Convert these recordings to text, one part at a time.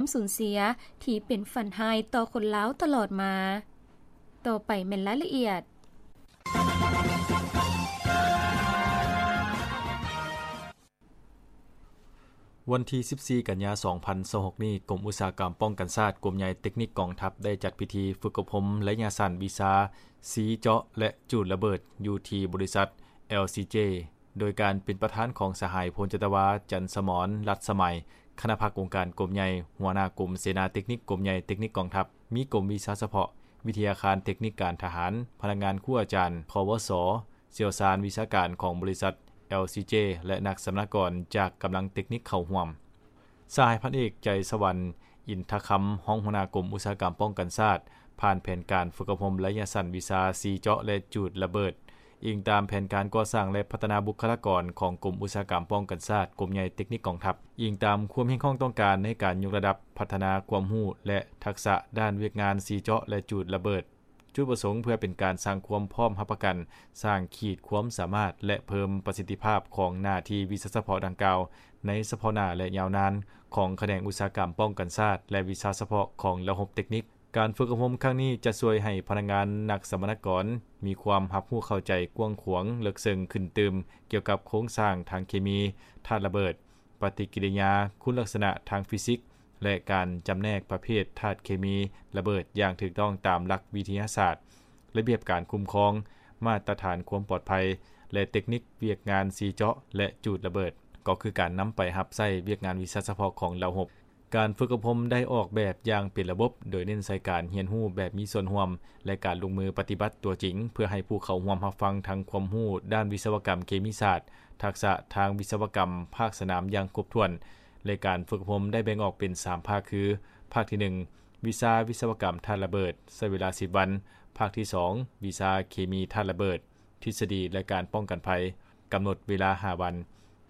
ຄວາມສູນເສຍທີ່ເປັນຝັນຮ້າຍຕໍ່ຄົນລາວຕະຫຼອດມາ. ຕໍ່ໄປແມ່ນລາຍລະອຽດ. ວັນທີສິບສີ່ ກັນຍາ ສອງພັນຊາວຫົກນີ້, ກົມອຸດສາຫະກຳປ້ອງກັນຊາດ ກົມໃຫຍ່ເຕັກນິກກອງທັບ ໄດ້ຈັດພິທີຝຶກອົບຮົມໄລຍະສັ້ນວິຊາຊີເຈາະ ແລະ ຈູດລະເບີດ ຢູ່ທີ່ບໍລິສັດ ແອລຊີເຈ ໂດຍການເປັນປະທານຂອງສະຫາຍ ພົນຈັດຕະວາ ຈັນສະໝອນ ລັດສະໄໝ ຄະນະພັກອົງການກົມໃຫຍ່, ຫົວໜ້າກົມເສນາເຕັກນິກ ກົມໃຫຍ່ເຕັກນິກກອງທັບ, ມີກົມວິຊາສະເພາະ, ວິທະຍາຄານເຕັກນິກການທະຫານ, ພະນັກງານຄູອາຈານ ຄວສ, ຊ່ຽວຊານວິຊາການຂອງບໍລິສັດ ແອລຊີເຈ ແລະ ນັກສຳມະນາກອນຈາກກຳລັງເຕັກນິກເຂົ້າຮ່ວມ. ສະຫາຍພັນເອກ ໃຈສະຫວັນ ອິນທະຄຳ ຮອງຫົວໜ້າກົມອຸດສາຫະກຳປ້ອງກັນຊາດ ຜ່ານແຜນການຝຶກອົບຮົມໄລຍະສັ້ນວິຊາຊີເຈາະ ແລະ ຈູດລະເບີດ, ອີງຕາມແຜນການກໍ່ສ້າງ ແລະ ພັດທະນາບຸກຄະລາກອນຂອງກົມອຸດສາຫະກຳປ້ອງກັນຊາດ ກົມໃຫຍ່ເຕັກນິກກອງທັບ, ອີງຕາມຄວາມຮຽກຮ້ອງຕ້ອງການໃນການຍົກລະດັບພັດທະນາຄວາມຮູ້ ແລະ ທັກສະດ້ານວຽກງານຊີເຈາະ ແລະ ຈູດລະເບີດ. ຈຸດປະສົງເພື່ອເປັນການສ້າງຄວາມພ້ອມຮັບປະກັນ, ສ້າງຂີດຄວາມສາມາດ ແລະ ເພີ່ມປະສິດທິພາບຂອງໜ້າທີ່ວິຊາສະເພາະດັ່ງກ່າວ ໃນສະເພາະໜ້າ ແລະ ຍາວນານ ຂອງຂະແໜງອຸດສາຫະກຳປ້ອງກັນຊາດ ແລະ ວິຊາສະເພາະຂອງລະບົບເຕັກນິກ. ການຝຶກອົບຮົມຄັ້ງນີ້ຈະຊ່ວຍໃຫ້ພະນັກງານນັກສຳມະນາກອນມີຄວາມຮັບຮູ້ເຂົ້າໃຈກວ້າງຂວາງເລິກເຊິ່ງຂຶ້ນຕື່ມ ກ່ຽວກັບໂຄງສ້າງທາງເຄມີ, ທາດລະເບີດ, ປະຕິກິລິຍາຄຸນລັກສະນະທາງຟີຊິກ ແລະ ການຈຳແນກປະເພດທາດເຄມີລະເບີດຢ່າງຖືກຕ້ອງຕາມຫຼັກວິທະຍາສາດ, ລະບຽບການຄຸ້ມຄອງ, ມາດຕະຖານຄວາມປອດໄພ ແລະ ເຕັກນິກວຽກງານຊີເຈາະ ແລະ ຈູດລະເບີດ, ກໍຄືການນຳໄປຮັບໃຊ້ວຽກງານວິຊາສະເພາະຂອງລະບົບ. ການຝຶກອົບຮົມໄດ້ອອກແບບຢ່າງເປັນລະບົບ, ໂດຍເນັ້ນໃສ່ການຮຽນຮູ້ແບບມີສ່ວນຮ່ວມ ແລະ ການລົງມືປະຕິບັດຕົວຈິງ ເພື່ອໃຫ້ຜູ້ເຂົ້າຮ່ວມຮັບຟັງທັງຄວາມຮູ້ດ້ານວິສະວະກຳເຄມີສາດ, ທັກສະທາງວິສະວະກຳພາກສະໜາມຢ່າງຄົບຖ້ວນ, ແລະ ການຝຶກອົບຮົມໄດ້ແບ່ງອອກເປັນສາມພາກຄື, ພາກທີໜຶ່ງ ວິຊາວິສະວະກຳທາດລະເບີດ ໃຊ້ເວລາສິບວັນ, ພາກທີສອງ ວິຊາເຄມີທາດລະເບີດ ທິດສະດີ ແລະ ການປ້ອງກັນໄພ ກຳນົດເວລາຫ້າວັນ,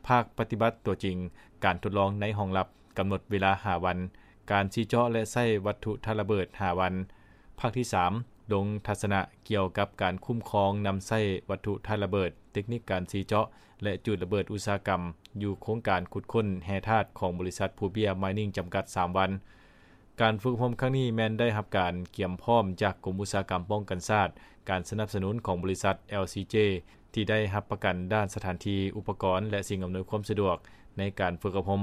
ພາກປະຕິບັດຕົວຈິງ ການທົດລອງໃນຫ້ອງລັບ ກຳນົດເວລາຫ້າວັນ, ການສີເຈາະ ແລະ ໃຊ້ວັດຖຸທາດລະເບີດຫ້າວັນ, ພາກທີສາມ ລົງທັດສະນະກ່ຽວກັບການຄຸ້ມຄອງນຳໃຊ້ວັດຖຸທາດລະເບີດ, ເຕັກນິກການສີເຈາະ ແລະ ຈູດລະເບີດອຸດສາຫະກຳ ຢູ່ໂຄງການຂຸດຄົ້ນແຮ່ທາດຂອງບໍລິສັດພູເບ້ຍມາຍນິງ ຈຳກັດ ສາມວັນ. ການຝຶກອົບຮົມຄັ້ງນີ້ແມ່ນໄດ້ຮັບການກຽມພ້ອມຈາກກົມອຸດສາຫະກຳປ້ອງກັນຊາດ, ການສະໜັບສະໜູນຂອງບໍລິສັດ ແອລຊີເຈ ທີ່ໄດ້ຮັບປະກັນດ້ານສະຖານທີ່, ອຸປະກອນ ແລະ ສິ່ງອຳນວຍຄວາມສະດວກໃນການຝຶກອົບຮົມ.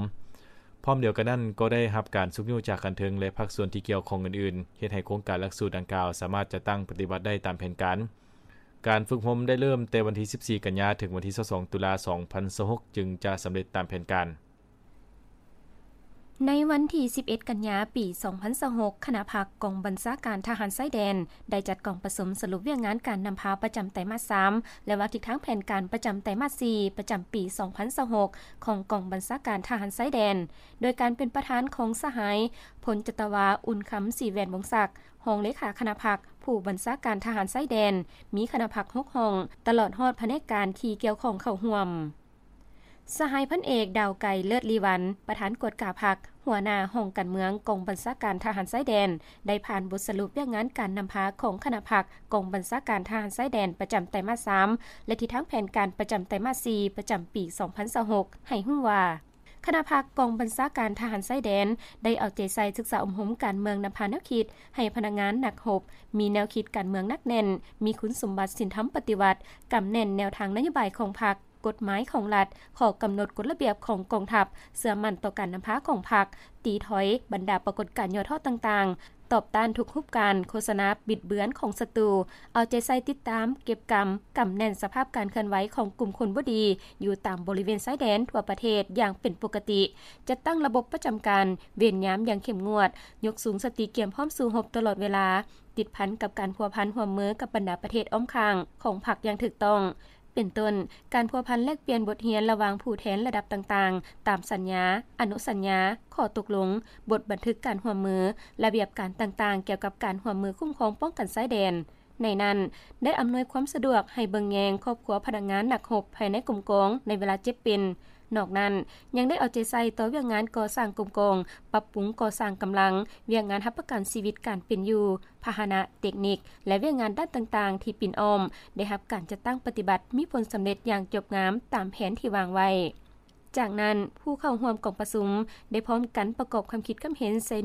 ພ້ອມດຽວກັນນັ້ນ, ກໍໄດ້ຮັບການຊຸກຍູ້ຈາກຂັ້ນເທິງ ແລະ ພາກສ່ວນທີ່ກ່ຽວຂ້ອງອື່ນໆ, ເຮັດໃຫ້ໂຄງການຫຼັກສູດດັ່ງກ່າວສາມາດຈັດຕັ້ງປະຕິບັດໄດ້ຕາມແຜນການ. ການຝຶກອົບຮົມໄດ້ເລີ່ມແຕ່ວັນທີສິບສີ່ ກັນຍາ ເຖິງວັນທີຊາວສອງ ຕຸລາ ສອງພັນຊາວຫົກ ຈຶ່ງຈະສຳເລັດຕາມແຜນການ. ໃນວັນທີສິບເອັດ ກັນຍາ ປີສອງພັນຊາວຫົກ, ຄະນະພັກກອງບັນຊາການທະຫານຊາຍແດນ ໄດ້ຈັດກອງປະຊຸມສະຫຼຸບວຽກງານການນຳພາປະຈຳໄຕມາດສາມ ແລະ ວາງທິດທາງແຜນການປະຈຳໄຕມາດສີ່ ປະຈຳປີສອງພັນຊາວຫົກ ຂອງກອງບັນຊາການທະຫານຊາຍແດນ, ໂດຍການເປັນປະທານຂອງສະຫາຍ ພົນຈັດຕະວາ ອຸ່ນຄຳ ສີແຫວນວົງສັກ ຮອງເລຂາຄະນະພັກ, ຜູ້ບັນຊາການທະຫານຊາຍແດນ, ມີຄະນະພັກຫົກຫ້ອງ, ຕະຫຼອດຮອດພະແນກການທີ່ກ່ຽວຂ້ອງເຂົ້າຮ່ວມ. ສະຫາຍພັນເອກ ດາວໄກ ເລີດລີວັນ ປະທານກວດກາພັກ, ຫົວໜ້າຫ້ອງການເມືອງກອງບັນຊາການທະຫານຊາຍແດນ ໄດ້ຜ່ານບົດສະຫຼຸບວຽກງານການນຳພາຂອງຄະນະພັກກອງບັນຊາການທະຫານຊາຍແດນປະຈຳໄຕມາດສາມ ແລະ ທິດທາງແຜນການປະຈຳໄຕມາດສີ່ ປະຈຳປີສອງພັນຊາວຫົກ ໃຫ້ຮູ້ວ່າ ຄະນະພັກກອງບັນຊາການທະຫານຊາຍແດນ ໄດ້ເອົາໃຈໃສ່ສຶກສາອົບຮົມການເມືອງນຳພາແນວຄິດໃຫ້ພະນັກງານນັກຮົບ ມີແນວຄິດການເມືອງໜັກແໜ້ນ, ມີຄຸນສົມບັດສິນທຳປະຕິວັດ, ກຳແໜ້ນແນວທາງນະໂຍບາຍຂອງພັກ, ກົດໝາຍຂອງລັດ, ຂໍ້ກຳນົດກົດລະບຽບຂອງກອງທັບ, ເຊື່ອໝັ້ນຕໍ່ການນຳພາຂອງພັກ, ຕີຖອຍບັນດາປາກົດການຫຍໍ້ທໍ້ຕ່າງໆ, ຕອບຕ້ານທຸກຮູບການໂຄສະນາບິດເບືອນຂອງສັດຕູ, ເອົາໃຈໃສ່ຕິດຕາມ, ເກັບກຳ, ກຳແໜ້ນສະພາບການເຄື່ອນໄຫວຂອງກຸ່ມຄົນບໍ່ດີຢູ່ຕາມບໍລິເວນຊາຍແດນທົ່ວປະເທດຢ່າງເປັນປົກກະຕິ, ຈັດຕັ້ງລະບົບປະຈຳການ, ເວນຍາມຢ່າງເຂັ້ມງວດ, ຍົກສູງສະຕິກຽມພ້ອມສູ້ຮົບຕະຫຼອດເວລາ, ຕິດພັນກັບການພົວພັນຮ່ວມມືກັບບັນດາປະເທດອ້ອມຂ້າງຂອງພັກຢ່າງຖືກຕ້ອງ. ເປັນຕົ້ນ, ການພົວພັນແລກປ່ຽນບົດຮຽນລະຫວ່າງຜູ້ແທນລະດັບຕ່າງໆ ຕາມສັນຍາ, ອະນຸສັນຍາ, ຂໍ້ຕົກລົງ, ບົດບັນທຶກການຮ່ວມມື, ລະບຽບການຕ່າງໆ ກ່ຽວກັບການຮ່ວມມືຄຸ້ມຄອງປ້ອງກັນຊາຍແດນ. ໃນນັ້ນ, ໄດ້ອຳນວຍຄວາມສະດວກໃຫ້ເບິ່ງແຍງຄອບຄົວພະນັກງານນັກຮົບພາຍໃນກົມກອງໃນເວລາເຈັບເປັນ. ນອກນັ້ນ, ຍັງໄດ້ເອົາໃຈໃສ່ຕໍ່ວຽກງານກໍ່ສ້າງກົມກອງ, ປັບປຸງກໍ່ສ້າງກຳລັງ, ວຽກງານຮັບປະກັນຊີວິດການເປັນຢູ່, ພາຫະນະ, ເຕັກນິກ ແລະ ວຽກງານດ້ານຕ່າງໆທີ່ປິ່ນອ້ອມ ໄດ້ຮັບການຈັດຕັ້ງປະຕິບັດມີຜົນສຳເລັດຢ່າງຈົບງາມຕາມແຜນທີ່ວາງໄວ້. ຈາກນັ້ນ ຜູ້ເຂົ້າຮ່ວມກອງປະຊຸມ ໄດ້ພ້ອມກັນປະກອບຄວາມຄິດຄວາມເຫັນໃສ່